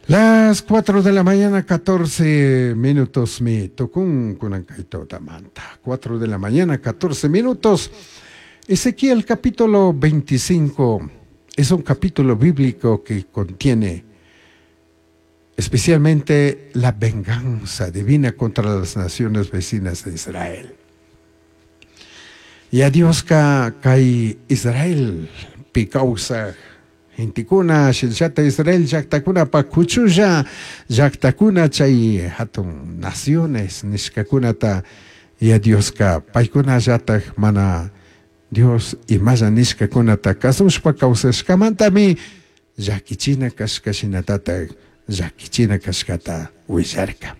Las 4 de la mañana, 14 minutos, mi tucun manta. 4 de la mañana, 14 minutos. Ezequiel capítulo 25 es un capítulo bíblico que contiene especialmente la venganza divina contra las naciones vecinas de Israel. Y a Dios kay Israel pi kawsaj gentekuna shinallata Israel llaktakunapa kuchulla llaktakuna chay hatun naciones nishkakunata Yaya Dioska paykunallatak mana Dios imalla nishkakunata kasushpa kawsashkamantami llakichina kashka shinatatak llakichina kashkata willarka.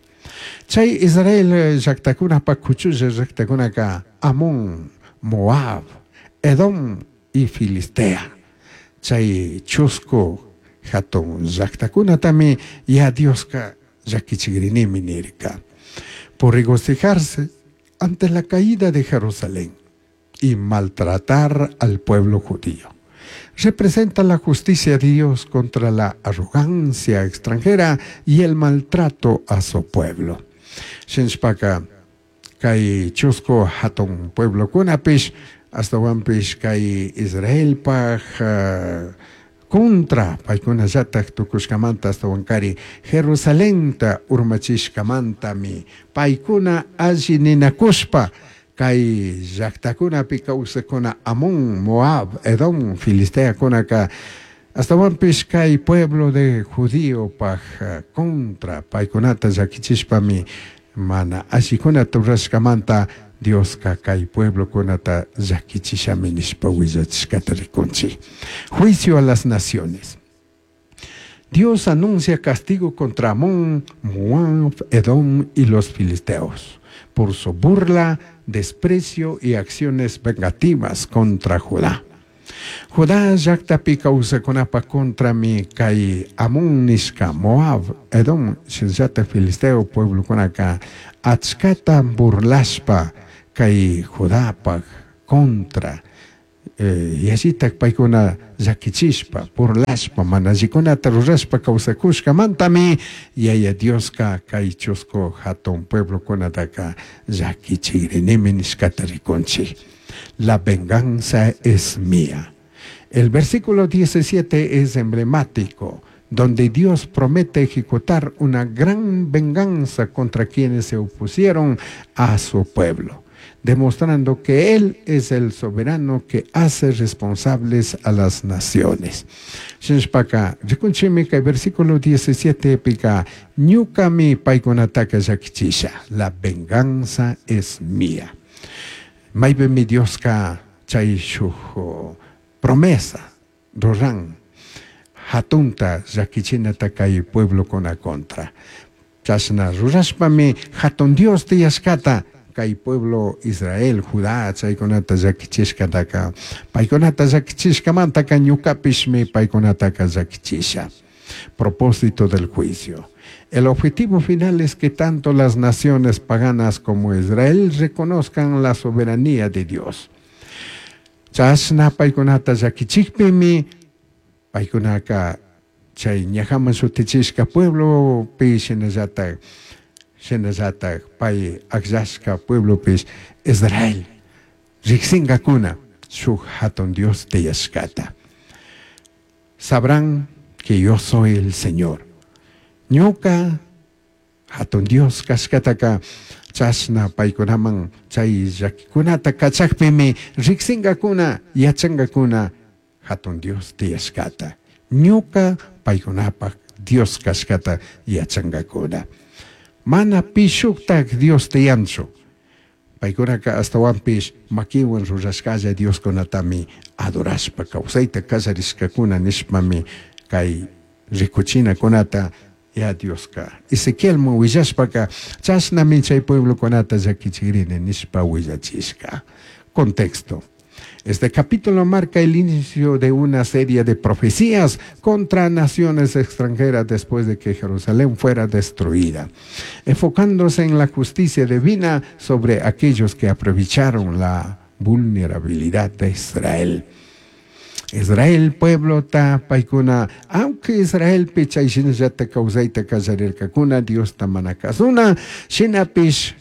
Chay Israel llaktakunapa kuchulla llaktakunaka Amón, Moab, Edom y Filistea. Chay chusku hatun llaktakunatami Yaya Dioska llakichigrinimi nirka. Por regocijarse ante la caída de Jerusalén y maltratar al pueblo judío. Representa la justicia de Dios contra la arrogancia extranjera y el maltrato a su pueblo. Shinashpaka kay chusku hatun pueblokunapish ashtawanpish kay Israelpaj contra paykunallatak tukushkamanta ashtawankari Jerusalenta urmachishkamantami paykuna alli ninakushpa kay llaktakunapi kawsakuna Amón, Moab, Edom, Filisteakunaka ashtawanpish kay pueblo de judíopaj contra paykunata llakichishpami mana allikunata rurashkamanta Dioska kay pueblokunata llakichishami nishpa willachishkata rikunchik. Juicio a las naciones. Dios anuncia castigo contra Amón, Moab, Edom y los filisteos por su burla, desprecio y acciones vengativas contra Judá. Judá llaktapi kawsakunapa contrami kay Amón nishka Moab, Edom, shinallata filisteo pueblokunaka achkata burlashpa kay Judapaj contra yallitak paykuna llakichishpa burlashpa mana allikunata rurashpa kawsakushkamantami Yaya Dioska kay chusku hatun pueblokunataka llakichigrinimi nishkata rikunchik. La venganza es mía. El versículo 17 es emblemático, donde Dios promete ejecutar una gran venganza contra quienes se opusieron a su pueblo, demostrando que Él es el soberano que hace responsables a las naciones. Shinashpaka, rikunchimi kay versículo 17 pika, ñukami paykunataka llakichisha, la venganza es mía. Maypimi Dioska chay shuk promesa ruran hatunta llakichinata kay pueblokuna contra. Chashna rurashpami hatun Dios tiyashkata kay pueblo Israel, Judá chaykunata llakichishkataka paykunata llakichishkamantaka ñukapishmi paykunataka llakichisha. Propósito del juicio. El objetivo final es que tanto las naciones paganas como Israel reconozcan la soberanía de Dios. Chashna paykunata llakichikpimi paykunaka chay ñajaman shutichishka pueblopi shinallatak shinallatak pay akllashka pueblopish Israel riksinkakuna shuk hatun Dios tiyashkata. Sabrán que yo soy el Señor. Ñuka hatun Dios kashkataka chashna paykunaman chay llakikunata kachakpimi riksinkakuna yachankakuna hatun Dios tiyashkata. Ñuka paykunapak Dios kashkata yachankakuna. Mana pi shuktak Dios tiyanchu. Paykunaka ashtawanpish makiwan rurashkalla Dioskunatami adorashpa kawsayta kallarishkakuna nishpami kay rikuchinakunata ya Dioska. Ezequielman willashpaka chashnami chay pueblokunata llakichigrini nishpa willachishka. Contexto. Este capítulo marca el inicio de una serie de profecías contra naciones extranjeras después de que Jerusalén fuera destruida, enfocándose en la justicia divina sobre aquellos que aprovecharon la vulnerabilidad de Israel. Israel pueblota paykuna, aunque Israelpi chay shinallata kawsayta kallarirkakuna Diosta mana kasuna, shinapish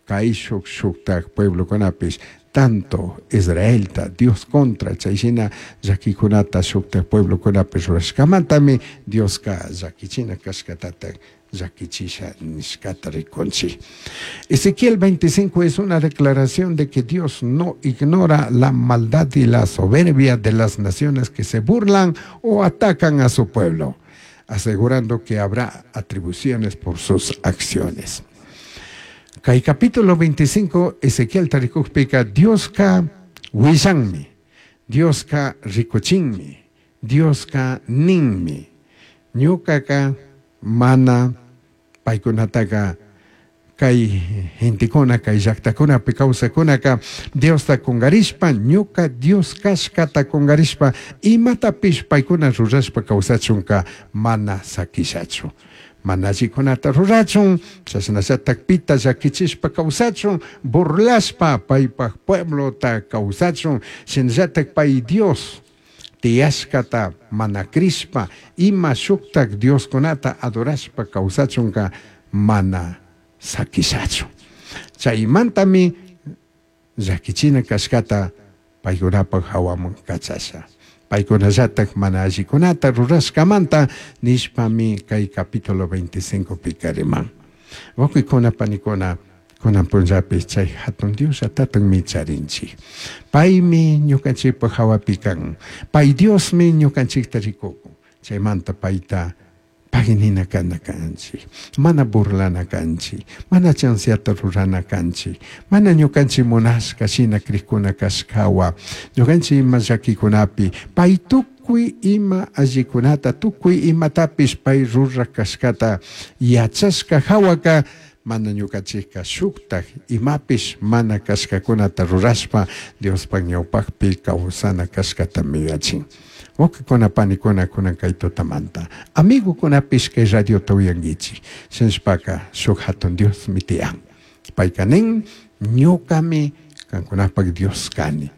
kayshuk shuktak pueblokunapish tanto Israelta Dios contra chay shina llakikunata shuktak pueblokunapish rurashkamantami Dioska llakichina kashkatatak llakichisha nishkata rikunchik. Ezequiel 25 es una declaración de que Dios no ignora la maldad y la soberbia de las naciones que se burlan o atacan a su pueblo, asegurando que habrá atribuciones por sus acciones. Kay capítulo 25 Ezequiel tarikukpika Dioska willanmi, Dioska rikuchinmi, Dioska ninmi, ñukaka mana paykunataka kay gentekuna kay llaktakunapi kawsakunaka Diosta kungarishpa ñuka Dios kashkata kungarishpa imatapish paykuna rurashpa kawsachunka mana sakishachu. Mana allikunata rurachun, chashnallatak pita llakichishpa kawsachun, burlashpa paypak pueblota kawsachun, shinallatak pay Dios tiyashkata mana crishpa ima shuktak Dioskunata adorashpa kawsachunka mana sakishachu. Chaymantami llakichina kashkata paykunapak hawaman kachasha. Paykunallatak mana allikunata rurashkamanta nishpami kay capítulo 25 pika riman. Wawqikuna panikuna kunan punllapi chay hatun Dios llatatami charinchik. Paymi ñukanchikpak hawapi kan. Pay Diosmi ñukanchikta rikukun. Chaymanta payta paginina kana kanchik. Mana burlana kanchik. Mana chanceata rurana kanchik. Mana ñukanchik munashka shina krikuna kashkawa. Ñukanchik ima llakikunapi pay tukuy ima allikunata, tukuy imatapish pay rurak kashkata yachashka hawaka mana ñukanchikka shuktak imapish mana kashkakunata rurashpa Diospak ñawpakpi kawsana kashkatami yachin. Wawqikuna panikuna kunan kay tutamanta amigukunapish kay radiota uyankichik. Shinashpaka shuk hatun Diosmi tiyan. Payka nin ñukami kankunapak Dios kani.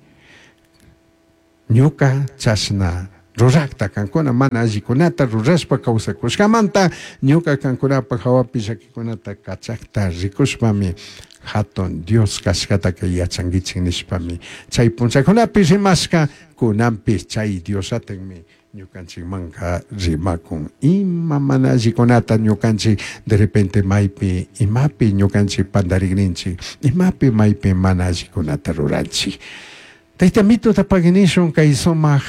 Ñuka chashna rurakta kankuna mana allikunata rurashpa kawsakushkamanta ñuka kankunapak hawapi llakikunata kachakta rikushpami hatun Dios kashkataka yachankichik nishpami chay punchakunapi rimashka kunanpish chay Diosllatakmi ñukanchikmanka rimakun. Ima mana allikunata ñukanchik de repente maypi imapi ñukanchik pandarikninchik, imapi maypi mana allikunata ruranchik. Tayta mituta paginishun kay sumaq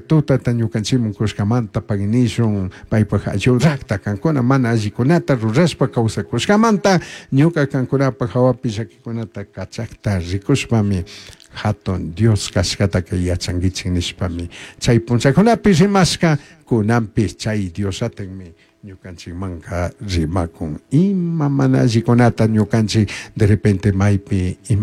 tutata ñukanchikman kushkamanta paginishun paypak ayudakta kankuna mana allikunata rurashpa kawsakushkamanta ñuka kankunapak hawapi llakikunata kachakta rikushpami hatun Dios kashkataka yachankichik nishpami chay punchakunapi rimashka kunanpish chay Diosllatakmi ñukanchikmanka rimakun. Ima mana allikunata ñukanchik de repente maypi.